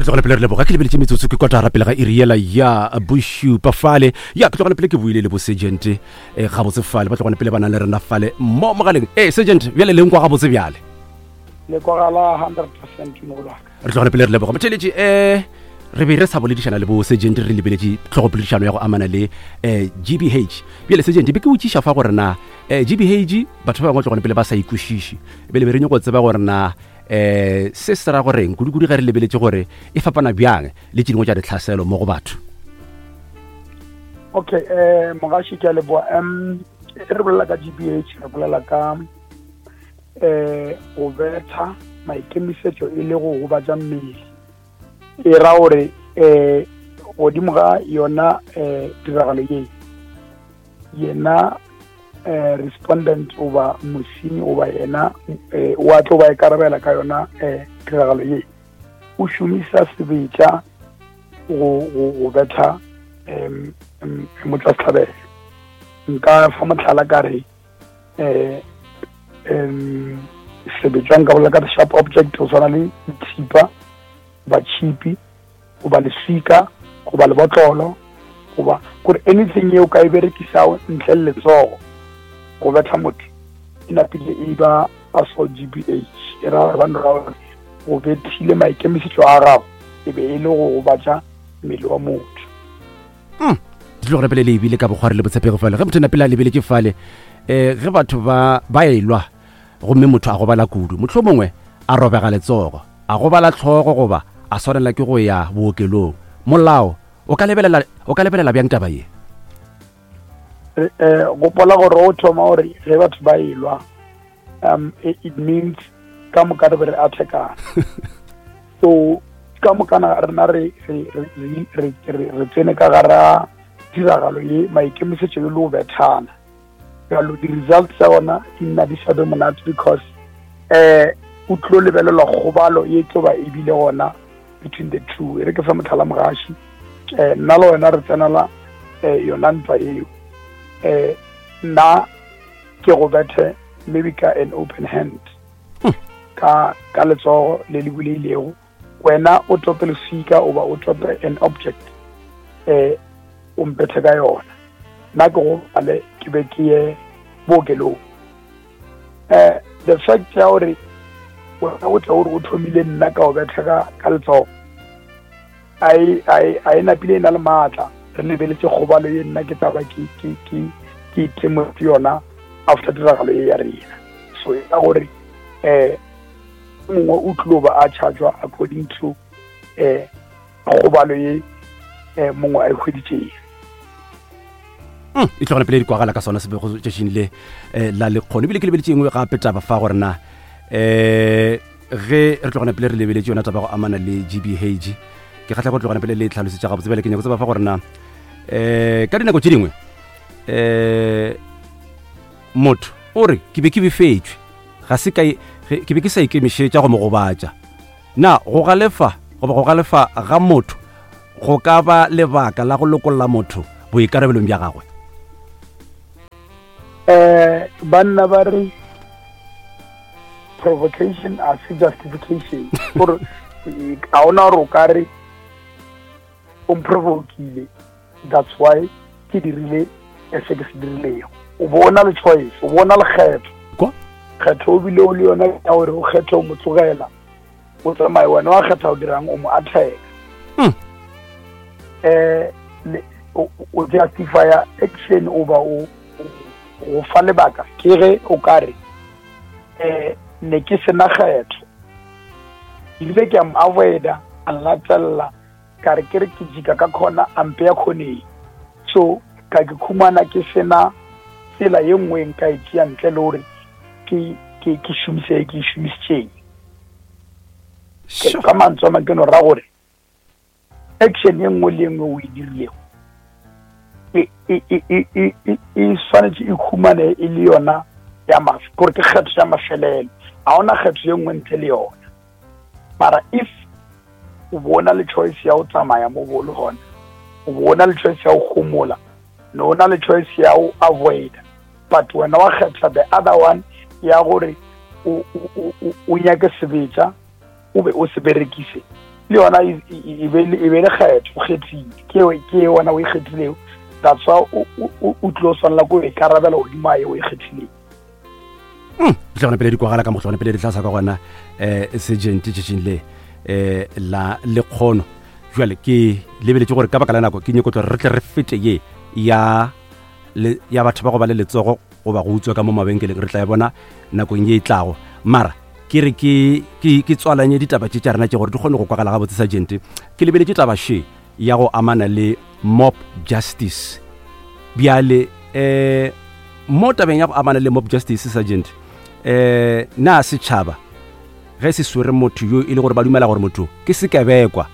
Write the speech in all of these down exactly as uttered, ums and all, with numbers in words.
Re tlogele pele re leboga. Ke lebeletše metsotso ke kotara pele ga iri yela ya bošupa fale. Ya ke tlogele pele ke buile le bo sergeant eh, gabotse fale, ba tlogone pele ba nang le rena fale mo mogaleng. E sergeant, bjale le nkwa gabotse bjale? Le kwagala hundred percent, mogolwaka. Re tlogele pele re leboga, motheletši. um re be re sa boledišana le bo sergeant, re lebeletše tlhogopoledišano ya go amana le um G B H. Bjale sergeant, be ke botšiša fa gore na um G B H batho ba bangwe tlogone pele ba sa ikwešiše, bjale be re nyako tseba gore na um se se ra goreng, kudu-kudu ge re lebeletše gore e fapana bjang le tše dingwe tša ditlhaselo mo go batho. Okay, eh mogaši, ke a leboa. um re bolela ka G B H, re bolela ka eh go betha maikemišetšo e le go gobatša mmele. E ra gore eh godimo ga yona eh tiragalo ye, yena eh respondent goba mosenyi goba yena eh wa tlo ba ikarabela ka yona eh tiragalo ye, o šomisa sebetša go go go betha um motšwasehlabelo. Nka fa mohlala ka re eh um sebetša, nka bolela ka sharp object go tshwana le thipa goba tšhipi goba leswika goba lebotlolo goba kore anything yeo ka e berekisago ntle le letsogo go betha motho, e napile e ba assault G B H. E ra gore ba no ra gore go bethile, maikemišetšo a gago e be e le go gobatša mmele wa motho. Hmm, di tlo gore pele le ebile ka bokgwari le botshepego fale ge motho napele a lebeletše fale, um ge batho ba ba elwa gomme motho a gobala kudu, motlho mongwe a robega letsogo, a gobala tlhogo goba a swanela ke go ya bookelong, molao o ka lebelela o ka lebelela bjang taba ye? Eh gopola gore o thoma gore ge batho ba elwa, um it, it means ka moka re be re attackana. So ka mokana rena re re re re re tsene ka gara tiragalo ye, maikemišetšo le go bethana. Jalo di-results tsa gona di nna di sa be monate, because eh o tlo lebelelwa kgobalo ye tlo ba ebile gona between the two. E re ke fa motlhala, mogaši. um nna le wena re tsenela um yona ntwa eo. um nna ke go bethe maybe ka an open hand, ka ka letsogo le le buleilego, wena o tope leswika oba o tope an object, eh o mpethe ka yona, nna ke go bale, ke be ke ye bookelong. eh the fact ya gore wena o tle gore o thomile nna ka o betha ka ka letsogo, a e napile e na le maatla. Re lebeletse kgobalo ye nna ke taba ke ke ke ke itemotse yona after tiragalo ye ya rena. So e ka gore eh mongwe o tlilo ba a chargewa according to eh kgobalo ye eh mongwe a e hweditšeng. Mm, e tlogela pele di kwagala ka sona sebego tšatšing le eh, la lekgono. Ebile ke lebeletše engwe gape taba fa gore na um ge re tlogana pele re lebeletše yona taba go amana le G B H, ke kgatlha go tlogana pele le tlhalosetša gabotse. Bjale ke nyako tseba fa gore na um ka dinako tše dingwe um motho o re ke be ke befetšwe, ga se ka ke be ke sa ikemišetša go mo gobatša, na go galefa goba go galefa ga motho go ka ba lebaka la go lokolla motho boikarabelong bja gagwe? eh banna ba re provocation a se justification, gore ga ona gore o ka re o mprovokile, that's why ke dirile se ke se dirilego. O bona le choice, o bona le kgetho. Kwa? Kgetho o bile o le yona ya gore o kgethe o mo tlogela o tsamaye, wena wa kgetha o dirang, o mo attack. Mm. eh le- o o justifya action oba o o fa lebaka ke ge o ka re eh ne ke sena kgetho, ebile ke a mo avoida, a nlatella, ka re ke re ke jika ka khona, a mpeya khoneng, so ka ke khumana ke sena tsela ye nngwe nka e tšea ntle le gore ke ke ke šomise e ke e šomisitšeng. Sure. Ka mantswe a mang, ke no ra gore action ye nngwe le ye nngwe o e dirilego e e e e e e e swanetše e khumane e le yona ya maf gore ke kgetho ya mafelelo, ga ona kgetho ye nngwe ntle le yona. Mara if o bona le choice ya go tsamaya mo bo le gona, o bona le choice ya go homola, no o na le choice ya go avoid, but wena wa kgetha the other one ya gore o o- o o nyake sebetša o be o se berekise. Le yona e e be e be le kgetho, o kgethile, ke ke wena o e kgethilego. That's why o o tlo swanela ko ikarabela godimo a ye o e kgethileng. Tlogana pele di kwagala ka motlogana pele di tlasa ka gona um sergeant tšatšing le um la lekgono. Jale ke lebeletše gore ka baka la nako ke nyako tlo re tle re fete ye ya le ya batho ba go ba le letsogo goba go utswa ka mo mabenkeleng, re tla e bona nakong ye e tlago. Mara ke re ke ke ke tswalanye ditaba tše tša rena tše gore di kgone go kwagala gabotse. Sergeant, ke lebeletše taba še ya go amana le mob justice. Bjale um mo tabeng ya go amana le mob justice, sergeant, um na setšhaba ge se swere motho yo e le gore ba dumela gore motho ke sekebekwa,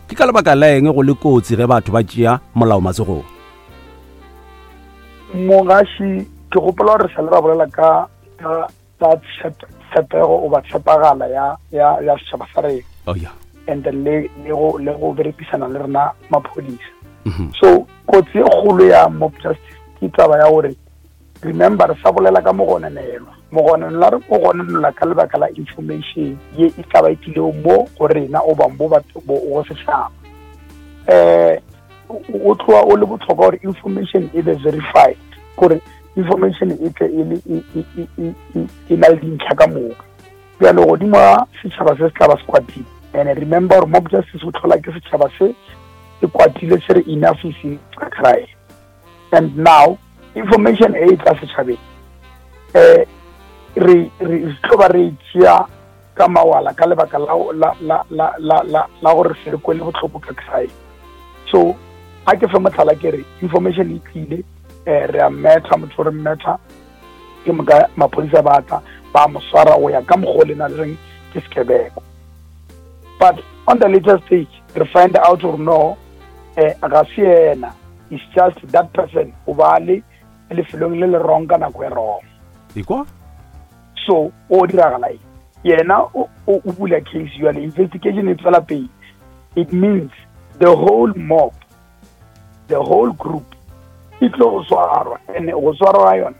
ke ka lebaka la eng go le kotsi ge batho ba tšea molao matsogong? Mogaši, ke gopola gore sa le ra bolela ka ka ka tshepego goba tshepagala ya ya ya setšhaba sa rena. Oh yeah. And then le le go le go berekisana le rena maphodisa. So kotsi e kgolo ya mob justice ke taba ya gore, remember, re sa bolela ka mogononelwa. Mogononelwa re o gononelwa ka lebaka la information ye e tla ba e tlilego mo go rena o ba mo batho go setšhaba. um o tloa o le botlhokwa gore information e be verified, gore information e tle e le e na le dintlha ka moka. Bjalo godimo ga setšhaba se se tla ba se kwatile, and remember gore mob justice o tlhola ke setšhaba se se kwatile, se re enough is crime. And now information e e tla setšhabeng, um re re tlo ba re tšea ka mawala ka lebaka la la la la la la la gore se re kwele botlhoko ka crime. So ga ke fe motlhala, ke re information e tlile, um re a mmetha motho, re mmetha, ke moka maphodisa ba tla ba mo swara go ya ka mokgwa o le na le reng ke sekebeko. But on the later stage re find out gore no, um ga se yena, it's just that person o ba le lefelong le le wrong ka nako e wrong. Ekwa. So o diragala eng? Yena o o bula case, jale investigation e tswela pele. It means the whole mob, the whole group e tlo go swarwa, and go swarwa ga yona,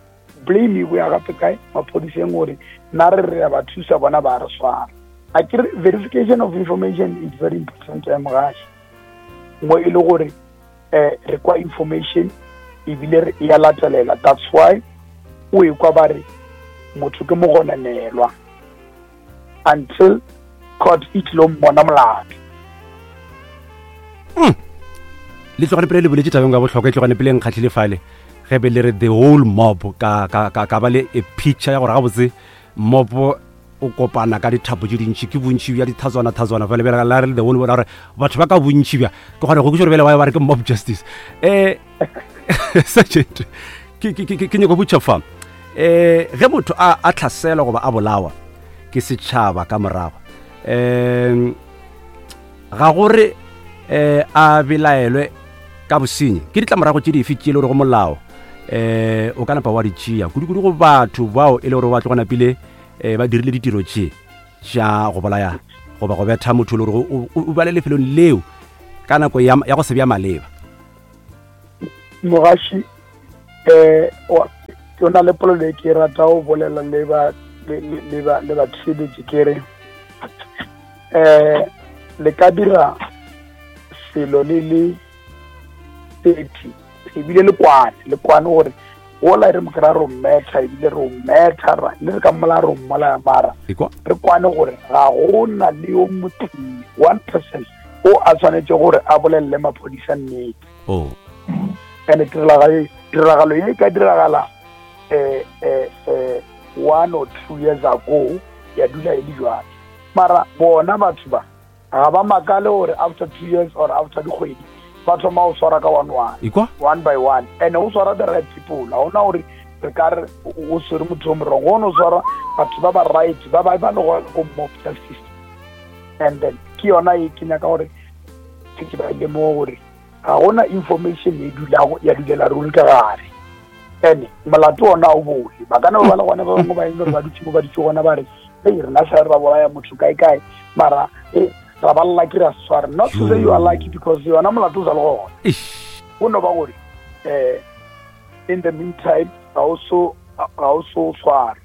blame e boya gape kae? Maphodiseng, gore nna re re ya ba thusa, bona ba re swara. A ke re verification of information is very important, ya mogaši, mo e le gore um re kwa information ebile re ya latelela. That's why o e kwa ba re motho ke mogononelwa until court e tlilo mmona molato. Le tlogane pele le boletse tabeng ka botlhokwa, e tlogane pele nkgatlhile fale ge be le re the whole mob, ka ka ka ka ba le a picture ya gore gabotse mob o kopana ka dithapo tse dintšhi, ke bontšhi bja dithatswana thatswana fale. Bjale la re le the whole, gore batho ba ka bontšhi bja ke kgona go kweša gore bjale wa ba re ke mob justice. um sergeant, ke ke ke ke nyako botša fa, um ge motho a a tlhaselwa goba a bolawa ke setšhaba ka morago, um ga gore um a belaelwe ka bosenyi, ke ditlamorago tše dife tše e le gore go molao um o ka napa wa di tšea, kudu-kudu go batho bao e le gore ba tloga napile um ba dirile ditiro tše tša go bolaya goba go betha motho e le gore o ba le lefelong leo ka nako ya go se bja maleba? Mogaši, um o na le polelo e ke rata go bolela le ba le ba le batheeletši, ke re um le ka dira selo le le thirty, ebile le kwane le kwane gore ola re mokry re o mmetha, ebile re o mmetha le re ka mmolaya, re o mmolaya, mara re kwane gore ga gona le yo motee, one person o a tshwanetse gore a bolelele maphodisa nnete. Oh. And tiragalo ye e ka diragala um um one or two years ago, ya dula e le jwale, mara bona batho ba ga ba makale gore after two years or after dikgwedi ba thoma go swara ka one one, Ekwa? one by one, and o swara the right people. Ga ona gore re ka re o swere motho o morong, go no swara batho ba ba right, ba ba ba le go ko mob justice. And then ke yona e ke nyaka gore ke ke ba lemoge gore ga gona information e dulago ya dulela ruri ka gare, and molato ona o bole. Ba kana ba le gona ba bangwe ba eng gore ba dutse mo ba dutse gona, ba re ei, rena sa re ba bolaya motho kae kae, mara e ra ba lucky, ra sware. Not to say you are lucky, because yona molato o sa le gona. Eish. Go no ba gore um in the meantime ga o so ga o so tshware.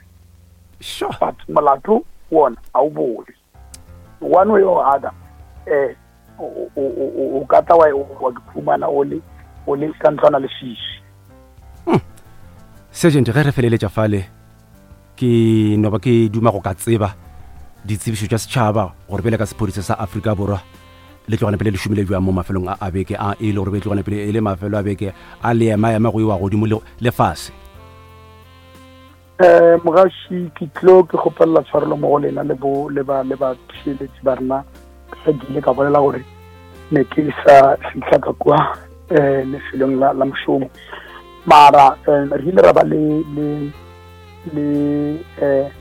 Sure. But molato wona ga o bole one way or other. eh o o o ka tla wa wa khumana o le o le ka ntlwana le sisi. Sergeant, ge re feleletša fale ke no ba ke duma go ka tseba ditsebišo tša setšhaba gore bjale ka sephodisa sa Afrika Borwa le tlogana pele le šomile bjang mo mafelong a a beke a e le gore be tlogana pele e le mafelo a beke a le ema-ema go iwa godimo le le fase. Eh mogaši, ke tlo ke kgopelela tshwarelo mo go lena le bo le ba le ba theeletši ba rena, ge ke ile ka bolela gore ne ke sa fihla ka kua eh lefelong la la mošomo, mara eh, re ile ra ba le le le eh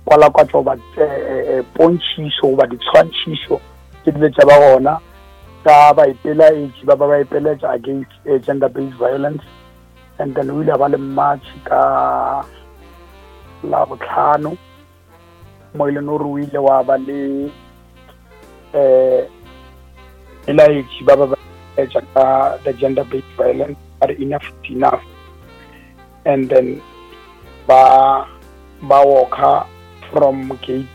kwalakwatšo goba eh, pontšhišo goba ditshwantšhišo tše dile tša ba gona ka baipelaetši ba ba ba ipeletša against eh, gender based violence. And then o ile a ba le march ka la botlhano mo e leng gore o ile wa ba le eh belaetši ba ba ba etša ka the gender based violence, ba re enough is enough. And then ba ba walka from gate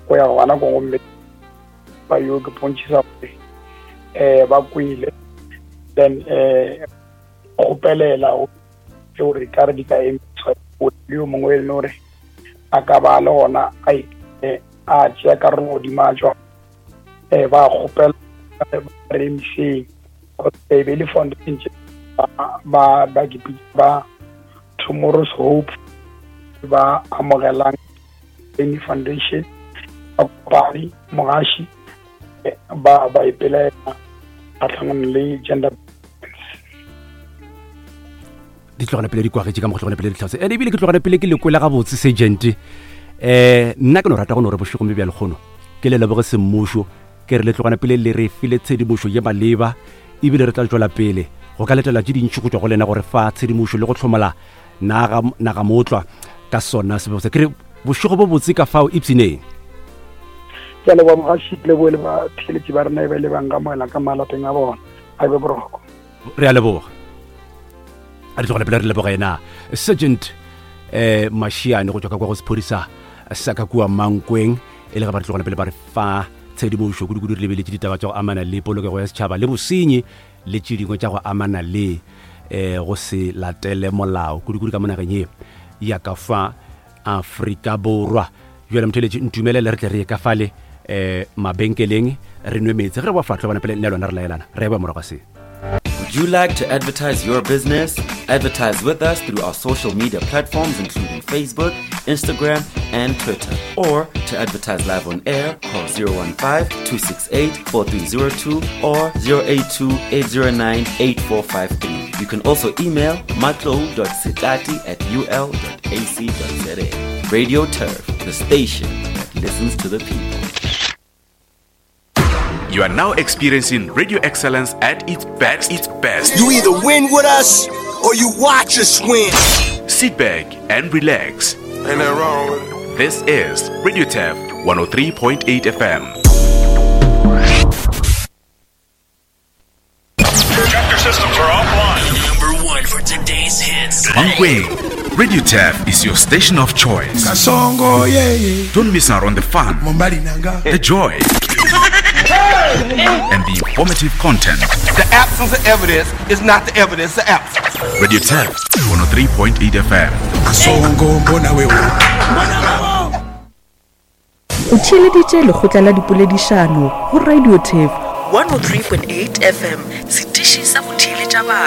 go ya gona ko, gomme ba yo ke pontšhisa gore eh ba kwele, then eh kgopelela gore ka re di ka emiswa le yo mongwe e leng gore a ka ba le gona a a tšea karolo godimo a tšwa eh ba kgopela ba re emiseng e be le foundation tše ba ba ke ba Tomorrow's Hope ba amogelang any foundation ba kopane mogaši ba ba ipelaela kgatlhanong le gender. Di tlogana pele di kwagetše ka mo go tlogana pele ditlhase, and ebile ke tlogana pele ke lekwele gabotse, sergeant. um nna ke no rata go no re bošegong bja lekgono ke le leboge semmušo, ke re le tlogana pele le re file tshedimošo ye maleba, ebile re tla tšwela pele go ka letela tše dintši go tšwa go lena gore fa tshedimošo le go hlomola naga naga motlwa ka sona sebego se. Ke re bošego bo botse ka fao, ipshineng. Ke a leboga mogaši, ke leboge le batheeletši ba rena e ba ile ba nkamoela ka malapeng a bona. A be boroko. Re a leboga, a re tlogele pele re leboga yena Sergeant eh Mashiane go tšwa ka kwa go sephodisa sa ka kua Mankweng, e le ge ba re tlogela pele ba re fa tshedimošo kudu-kudu re lebeletše ditaba tša go amana le polokego ya setšhaba le bosenyi le tše dingwe tša go amana le eh go se latele molao kudu-kudu ka mo nageng ye ya ka fa Afrika Borwa. Jale motheletši, ntumelele re tle re ye ka fale eh mabenkeleng re nwe meetse, ge re ba fatlho bana pele nne lona re laelana re ba morago se. Would you like to advertise your business? Advertise with us through our social media platforms, including Facebook, Instagram, and Twitter. Or to advertise live on air, call zero one five, two six eight, four three zero two or zero eight two, eight zero nine, eight four five three. You can also email matlo dot setati at u l dot a c dot z a. Radio Turf, the station that listens to the people. You are now experiencing radio excellence at its best. Its best. You either win with us or you watch us win. Sit back and relax. Ain't nothing wrong with it. This is Radio Turf one oh three point eight F M. Chapter systems are offline. Number one for today's hits. Mankweng, Radio Turf is your station of choice. Kasongo, yeah, yeah. Don't miss out on the fun, Mombali nanga. the joy, and the informative content. The absence of evidence is not the evidence of absence. Radio Turf one oh three point eight F M. Kasongo, mbona wewe. O theeleditše lekgotla la dipoledišano go Radio Turf one oh three point eight F M, setiši sa go theeletša batho.